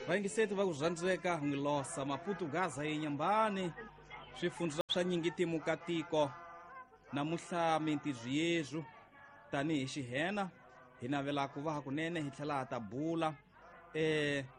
Vayingiseti va ku rhandzeka n'wi losa Maputo Gaza yenyambani swifundza swa nyingitimu ka tiko namuhla mintirho yezwu tanihi xihena hi navela ku va hakunene hi tlhela ha ta bula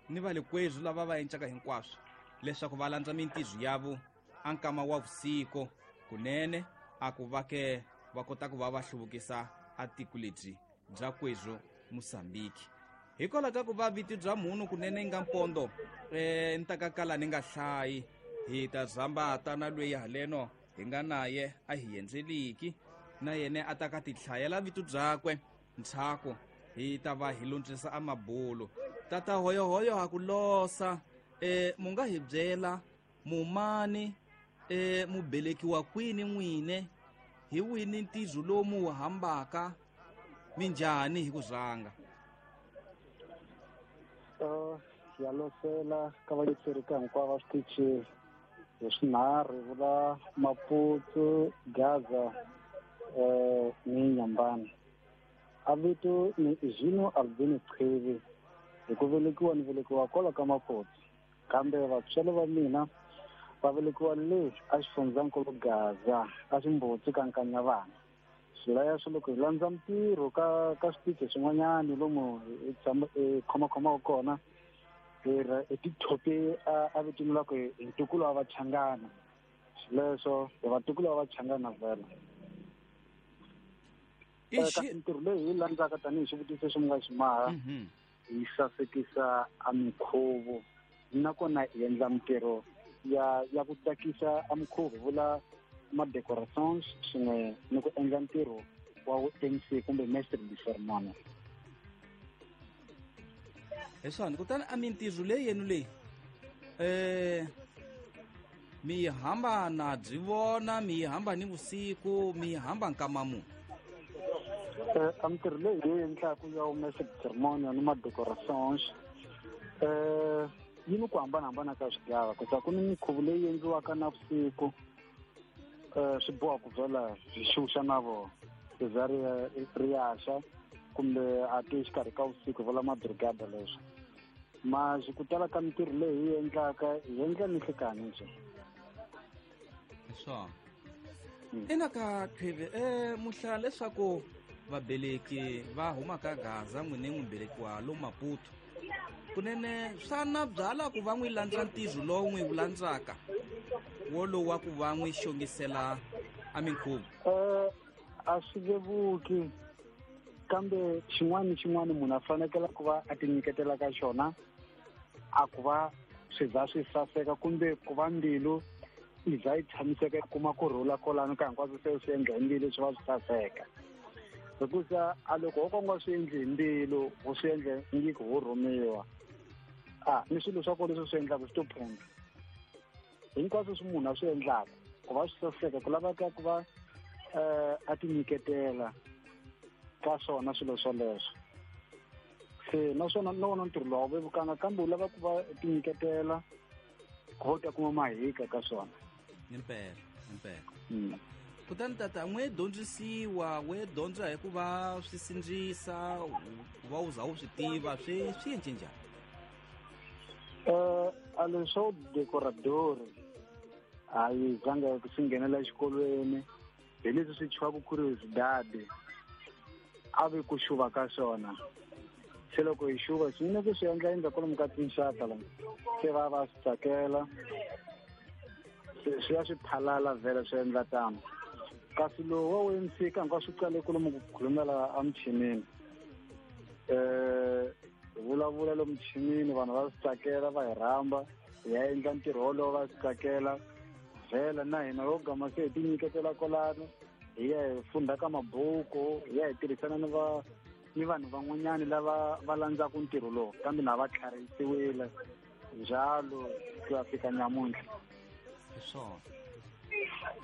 ni va le kwezwu lava va encaka hinkwaswo leswaku va landza mintirho yavo a nkama wa vusiku kunene a ku va ke va kota ku va va hluvukisa a tiko lebyi bya kwezwu Mosambiki. Hikwalaho ka ku va vito bya munhu kunene nga mpondo ni ta ka kala ni nga hlayi hi ta zamba tana lweyi haleno hi nga naye a hi endzeliki na yene a ta ka tihlayela vito byakwe ntshaku hi ta va hi lundzisa a mabulu. Tata hoyohoyo ha ku losa mu nga hi byela mumani mubelekiwa kwini n'wine hi wini ntizo lowu mu wu hambaka minjhani hi ku rhanga? Ya losela ka vayingiseri ka hinkwavo va switichi hi swinharhu vula Maputo, Gaza ni Nyambani. A vito ni Izino Albino Qhivi, hi ku velekiwa ni velekiwa kwala ka Maputo, kambe vatswari va mina va velekiwa le a xifundzankulu Gaza, a Ximbutsi ka Nkanyavana. Swilaya swo loko hi landza mintirho ka switichi swin'wanyani lomu hi tshama hi khomakhomaka kona, hi hi tithope a vitaniwa ku hi ntukulu wa Vachangana. Swileswo hi vatukulu va Vachangana vhela. Kasi mintirho leyi hi landzaka tanihi xivutiso xi mi nga xi maha, hi sasekisa a minkhuvo nakona hi endla mintirho ya ku tsakisa a minkhuvo, vula ma-decorations swin'we ni ku endla ntirho wa MC kumbe mestre de ceremonie. Hi swona. Kutani a mintirho leyi yenu leyi mi yi hamba na byi vona, mi yi hamba ni vusiku, mi yi hamba nkama muni? A mintirho leyi hi yi endlaku ya mestre de ceremonie ni ma-decorations yi ni ku hambanahambana ka swigava, ku ta ku ni minkhuvo leyi endliwaka na vusiku swi boha ku vhela hi xuxa na vona ri za ri ya xa kumbe a ti exikarhi ka vusiku vula mabrigada leswi. Maxi ku tala ka mintirho leyi hi endlaka hi endla ni nhlikani nje. Swona. Ina ka Qhivi muhla leswaku vabeleki va huma ka Gaza n'wine n'wi belekiwa lo Maputo kunene swa na byala ku va n'wi landza ntirho lowu n'wi wu landzaka wolowu wa ku va n'wi xongisela a minkhuvo? A swi vevuki, kambe xin'wana ni xin'wana munhu a fanekele ku va a tinyiketela ka xona, a ku va swi za swi saseka kumbe ku va mbilu yi za yi tshamiseka yi kuma kurhula kolano ka hinkwaswo se swi endla hi mbilu swi va swi saseka. Hikusa a loko ho ka u nga swi endli hi mbilu, u swi endle ngi ku ho rhumiwa, ni swilo swa kona leswi swi endlaka swi to phunta. Hinkwaswo swi munhu a swi endlaka ku va swi saseka ku laveka ku va a tinyiketela ka swona swilo swoleswo. Se naswona na wona ntirho lowu a wu vevukanga, kambe u lava ku va tinyiketela ku va u ta kuma mahika ka swona. Impela, impela. Kutani tata n'we dyondzisiwa, we dyondza hi ku va swi sindzisa, ku va u za u swi tiva, swi endle njhani? A leswo decorador a yi zanga ku swi nghenela exikolweni, hi leswi swi tshwaka ku ri swidadi a vi ku xuva ka swona. Se loko hi xuva swi ne ku swi endla endla kwalomu ka tinxaka la, se va va swi tsakela, swi ya swi phalala vhele swi endla tano. Kasi lowu wa MC ka hinkwaswo swi qale kwalomu ku khulumela emuchinini, hi vulavula lomu muchinini, vanhu va swi tsakela, va hi rhamba hi ya endla ntirho wolowo, va swi tsakela vhela. Na hina ho gama se hi tinyiketela kwalano, hi ya hi fundha ka mabuku, hi ya hi tirhisana ni vanhu van'wanyani lava va landzaka ntirho lowu, kambe na va tlharihisiwile njalo ku ya fika nyamuntlha. Hi swona.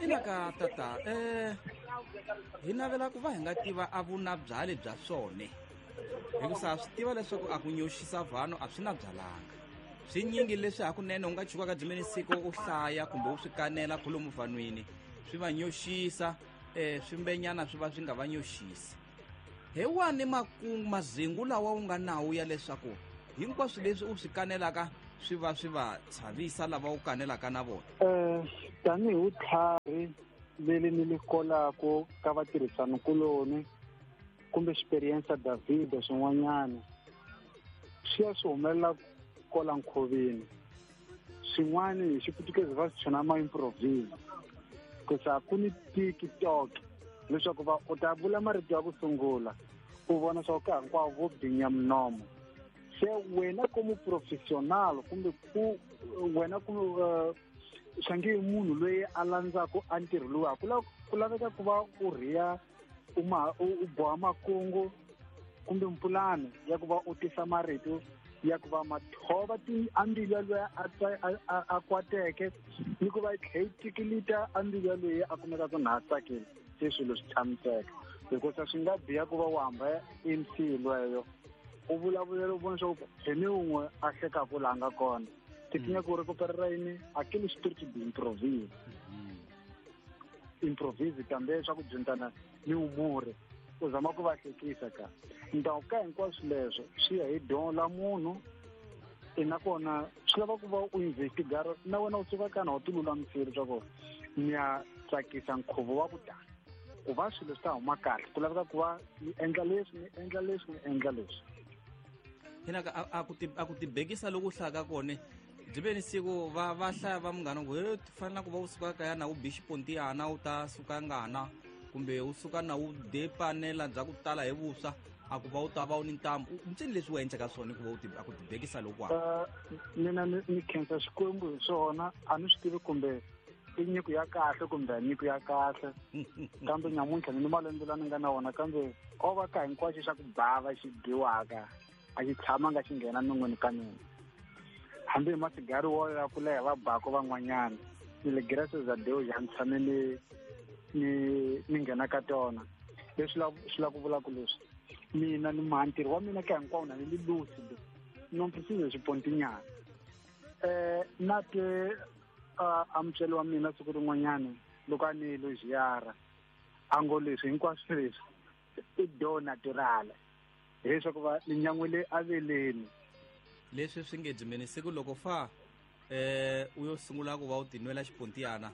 Ina ka tata hi navela ku va hi nga tiva a vuna byale bya swone, hikusa swi tiva leswaku a ku nyoxisa vanhu a swi na byalanga. Swinyingi leswi hakunene u nga chukaka dzimeni siku u hlaya kumbe u swi kanela kholomu vanhwini swi va nyoxisa, swimbenyana swi va swi nga va nyoxisi. Hi wani makungu mazingu lawa u nga nawu ya leswaku Hinkwaswo leswi u swi kanelaka swi va swi va chavisa lava u kanelaka na vona. Tanihi vutlhari leri ni li kolaku ka vatirhisanikuloni kumbe experience David swin'wanyana swi ya swi humelela kola nkhoveni. Swin'wana hi xiputukezi va swi chona ma-improvise kusa ku ni TikTok leswaku va u ta vula marito ya ku sungula u vona swa ku ka hinkwavo vo binya minomo. Se wena komu professional kumbe ku wena ku swange munhu loyi a landzaku a ntirho luwa ku laveka ku va u rhiya u boha makungu kumbe mpulano ya ku va u tisa marito ya ku va mathova a mbilu ya loyi a kwateke ni ku va yi tlhe yi tikilita a mbilu ya loyi a kumekaka na ha tsakile. Se swilo swi tshamiseka hikusa swi nga biha ku va u hamba MC lweyo u vulavulela u vona swa ku hi ni wun'we a hlekaku laha nga kona. Tikinya ku ri ku perera yini aquele spirit de improvise. Improvise kambe swa ku dyondzana ni umuri u zama ku va hlekisa ka ndhawu ka hinkwaswo leswo swi ya hi dyondzo la munhu nakona swi lava ku va u investigara na wena u suka kana u ti lulamisile leswaku ni ya tsakisa nkhuvo wa ku tala ku va swilo swi ta huma kahle ku laveka ku va ni endla leswi ni endla leswi ni endla leswi. Hinaka a ku tibekisa loko u hlaya ka kona byi ve ni siku va hlaya va munghana ku he fanele ku va u suka kaya na u bi xipontiyana u ta suka ngana kumbe u suka na u depanela bya ku tala hi vuswa a ku va u ta va u ni ntamu ntsini leswi u endlaka swona ku va a ku tibekisa loku mina ni khensa Xikwembu hi swona a ni swi tivi kumbe i nyiko ya kahle kumbe a nyiko ya kahle kambe nyamuntlha ni malembe la ni nga na wona kambe o va ka hinkwaxo xa ku bava xi dyiwaka a xi tshamanga xi nghena non'weni ka mina. Hambi hi masigari wo ya ku leha va bako van'wanyana ni le graças a Deus a ni tshame ni nghena ka tona. Leswi swi la ku vula ku leswi mina ni ntirho wa mina ka hinkwawo na ni li lucid non preciso xipontinyana. Na te a mutswari wa mina siku rin'wanyana loko a ni elogiara a ngo leswi hinkwaswo leswi i do natural hileswaku va ni nyan'wile aveleni. Leswi swi nge dzimeni siku loko fa u yo sungula ku va u tinwela xipontiyana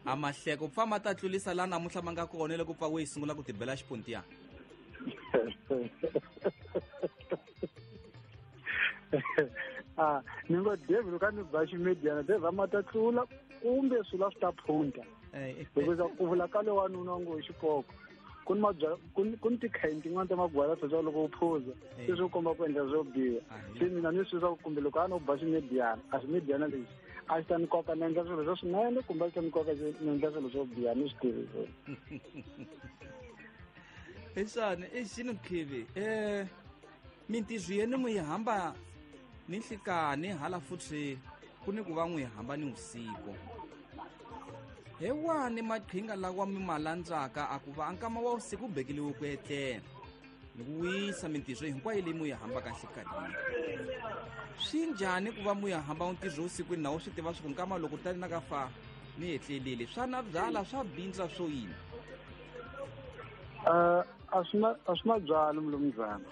a mahleko pfa ma ta tlulisa laha namuntlha ma nga kona loko pfa u yi sungula ku tibela xipontiyana. Ni ngo David loko a ni ba ximediana David a ma ta tlula kumbe swilo a swi ta phunta hikuva ku vula ka le wanuna ngo hi xipoko ku ni mabyala ku ni tikhayini tin'wana ta magwala swa loko u phuza se swi komba ku endla swo biha. Se mina ni swi swa kumbe loko a no ba ximediana a ximediana lexi a xi ta ni koka ni endla swilo swa swinene kumbe a xi ta ni koka ni endla swilo swo biha ni swi tivi swona. Eswani i xini khivi mintirho yenu mi yi hamba ni nhlikani hala futhi ku ni ku va n'wi hamba ni vusiku. He wani maqhinga lawa mi ma landzaka a ku va nkama wa vusiku bekeliwe ku etlela ni ku wisa mintirho hinkwayo leyi mu yi hambaka nhlikanini. Swi njhani ku va mu ya hamba ntirho vusikwini na wu swi tiva swa ku nkama loko tani na ka fa ni etlelile swa na byala swa bindza swo yini? A swi na byala mulumuzana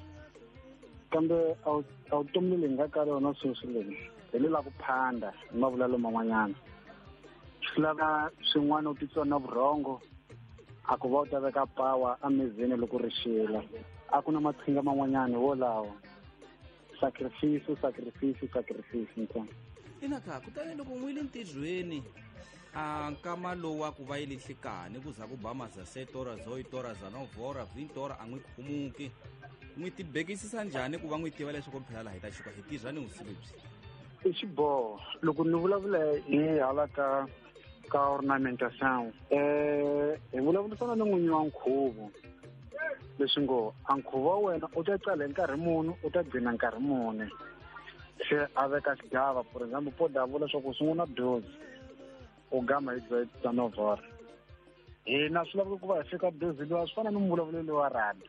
kambe a wu tomi leyi nga ka rona sweswi leyi hi le la ku phanda hi mavulelo man'wanyana. Swi lava swin'wana u titsona vurhongo a ku va u ta veka pawa emizini loko ri xila a ku na maqhinga man'wanyana wolawo. Sacrifice sacrifice sacrifice ntsena. Inaka kutani loko n'wi le ntirhweni a nkama lowu wa ku va yi le nhlikani ku za ku ba maza 7 horas 8 horas 9 horas 20 horas a n'wi khumuki n'wi tibekisisa njhani ku va n'wi tiva leswaku phela laha hi ta xuka hi tirha ni vusiku lebyi? I xiboho loko ni vulavula hi hala ka ornamentation hi vulavurisana ni n'winyi wa nkhuvo leswi ngo a nkhuvo wa wena u ta tsala hi nkarhi muni u ta gcina nkarhi muni. Se a veka xigava for example po da vula swa ku sungula 12 u gama hi 9 hina swi laveka ku va hi fika 12 luwa swi fana ni mvulavulelo wa rhandi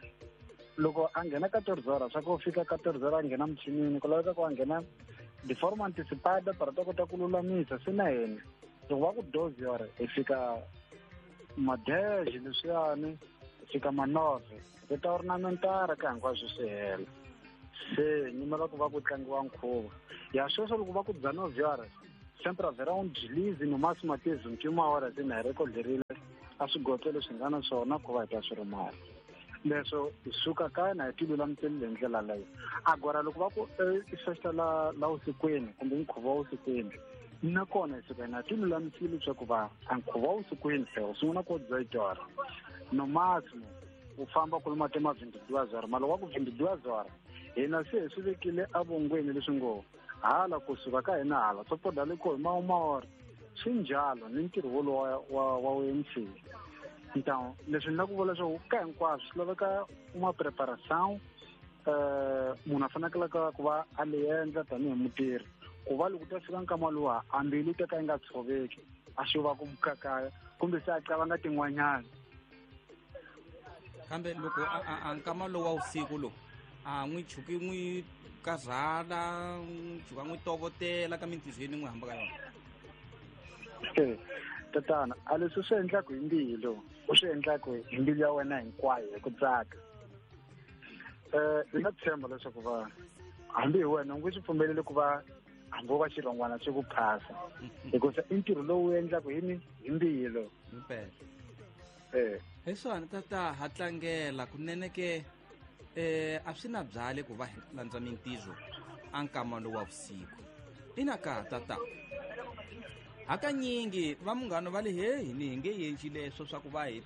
loko a nghena 14 horas swa ku fika 14 horas a nghena muchinini ku laveka ku a nghena de forma anticipada para ta kota ku lulamisa. Se na hina loko va ku 12 horas hi fika madeje leswiyani hi fika manove hi ta ornamentara ka hinkwaswo swi hela. Se nyimela ku va ku tlangiwa nkhuvo. Ya sweswo loko va ku 19 horas, sempre haverá um deslize no máximo até 21 horas na hi rekodlerile a swigotlelo swi nga na swona ku va hi ta swi rimala. Leswo hi suka kaya na hi ti lulamiselile hi ndlela leyo. Agora loko va ku i festa la la vusikwini kumbe nkhuvo wa vusikwini, nakona hi suka na ti lulamisile leswaku va a nkhuvo wa vusikwini se wu sungula ko 18 horas. No máximo u famba kuluma tema 22 horas, mara wa ku 22 horas hina se hi swi vekile evongweni leswi ngo hala kusuka ka hina hala swo poda le ko hi ma hora. Swi njalo ni ntirho wolowo wa MC. Então leswi ni la ku vula leswaku ka hinkwaswo swi laveka uma preparação, munhu a fanekelaka ku va a le endla tanihi mutirhi ku va loko ta fika nkama luwa a mbilu ta ka yi nga tshoveki a xo va ku mukakaya kumbe se a qavanga tin'wanyana. Kambe loko a nkama lowu wa vusiku lowu a n'wi chuki n'wi karhala, n'wi chuka n'wi tovotela ka mintirhweni n'wi hamba ka yona. Tatana, a leswi swi endlaka hi mbilu, u swi endlaka hi mbilu ya wena hinkwayo hi ku tsaka. Hi nga tshemba leswaku va hambi hi wena u nge swi pfumeleli ku va hambi wo va xirhongwana xi ku phasa, hikuva i ntirho lowu wu endlaka hi ni hi mbilu. Impela. Hi swona tata, ha tlangela kunene ke a swi na byale ku va hi landza mintirho a nkama lowu wa vusiku. Ina ka tata, hakanyingi va munghano va le heyi ni hi nge endli leswo swa ku va hi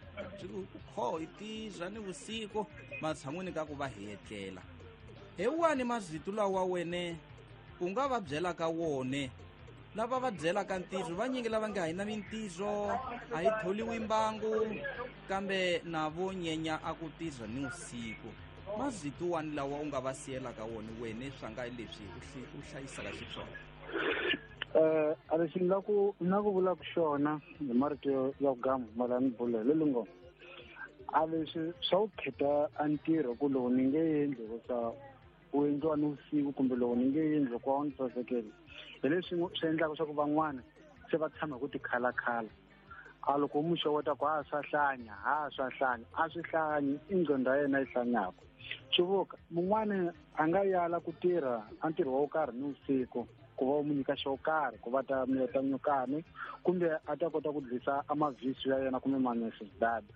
kho hi tirha ni vusiku matshan'wini ka ku va hi etlela. Hi wani mazito lawa wene u nga va byelaka wone lava va byelaka ntirho? Vanyingi lava nga hi na mintirho a hi tholiwi mbangu, kambe na vo nyenya a ku tirha ni vusiku. Mazito wani lawa u nga va siyelaka wona wene swa nga leswi u hlayisaka xiswona? A lexi ni la ku ni la ku vulaka xona hi marito ya ku gama mara ni bula hi lelingo, a leswi swa ku kheta a ntirho ku lowu ni nge endli hikusa wu endliwa ni vusiku kumbe lowu ni nge endli ku wa ni sasekeli, hi leswi swi endlaka swa ku van'wana se va tshama hi ku tikhalakhala. A loko u mu xeweta ku ha swa hlanya, ha swa hlanya, a swi hlanyi, i nqondo ya yena yi hlanyaka. Xivuka mun'wani a nga yala ku tirha a ntirho wo karhi ni vusiku ku va u mu nyika xo karhi ku va ta miyeta nyukani kumbe a ta kota ku dlisa a mavhiso ya yena kumbe manecessidade.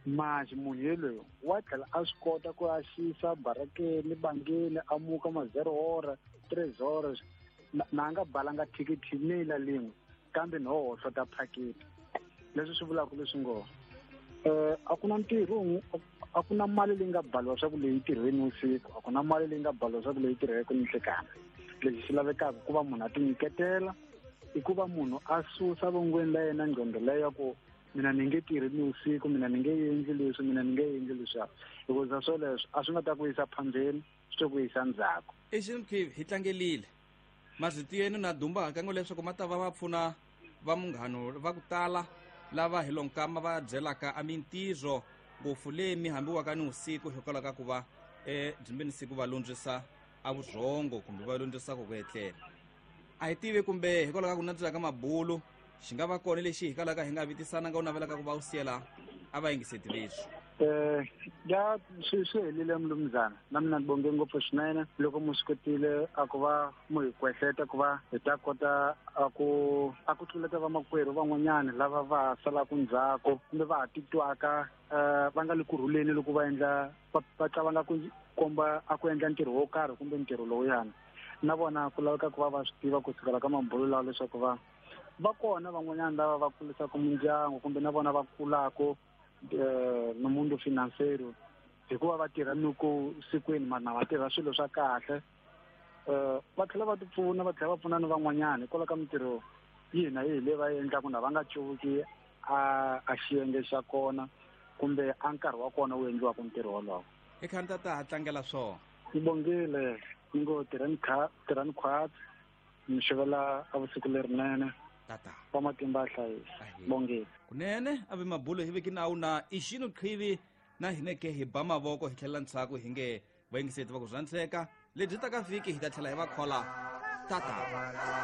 Manje munhu yelweyo wa tlhela a swi kota ku a xisa barakeni bangeni a muka ma 0 hora 3 horas na nga balanga thikithi ni la lin'we kambe no hohlota phaketi. Leswi swi vulaka leswi ngo a ku na ntirho, a ku na mali leyi nga baliwa swa ku leyi tirhweni vusiku, a ku na mali leyi nga baliwa swa ku leyi tirheke ni nhlekani. Lexi xi lavekaka ku va munhu a tinyiketela i ku va munhu a susa vongweni la yena nqondo leyo ya ku mina ni nge tirhi ni vusiku, mina ni nge endli leswi, mina ni nge endli leswiya, hikuva swoleswo a swi nga ta ku yisa phambeni, swi ta ku yisa ndzhaku. Eximkhivi hi tlangelile mazito yenu na dumba hakango leswaku ma ta va va pfuna va munghano va ku tala lava hi lonkama va byelaka a mintirho ngopfu leyi mi hambiwaka ni vusiku hikwalaho ka ku va byimbeni siku va lundzisa a vurhongo kumbe va lundzisa ku etlela. A hi tivi kumbe hikwalaho ka ku nandzika ka mabulu xi nga va kona lexi hikwalaho ka hi nga vitisana nga u navelaka ku va u siyela a va yingiseti leswi. Ya swi helile mlumzana, na mina ni bonge ngopfu swinene loko mu swi kotile a ku va mu hi kwehleta ku va hi ta kota a ku tluleta vamakwerhu van'wanyana lava va salaka ndzhaku kumbe va ha titwaka va nga le kurhuleni loko va endla va qavanga ku komba a ku endla ntirho wo karhi kumbe ntirho lowuyana. Na vona ku laveka ku va va swi tiva kusukela ka mabulu lawa leswaku va va kona van'wanyana lava va kurisaka mindyangu kumbe na vona va kulaka no mundo financero hikuva va tirha ni ku sikwini mara va tirha swilo swa kahle, va tlhela va tipfuna, va tlhela va pfuna ni van'wanyana hikwalaho ka mintirho yihi na yihi leyi va yi endlaka na va nga cuvuki a xiyenge xa kona kumbe a nkarhi wa kona wu endliwaka ntirho wolowo. I kha ni tata ha tlangela swona. Ni bongile ni ngo tirhani khwatsi, ni xivela a vusiku lerinene. Tata va matimba a hlayisa. Bongile kunene a ve mabulo hi veki nawu na ixino qhivi na hineke hi ba mavoko hi tlhela ndzhaku hi nge vayingiseti va ku rhandzeka lebyi ta ka vhiki hi ta tlhela hi va khola. Tata.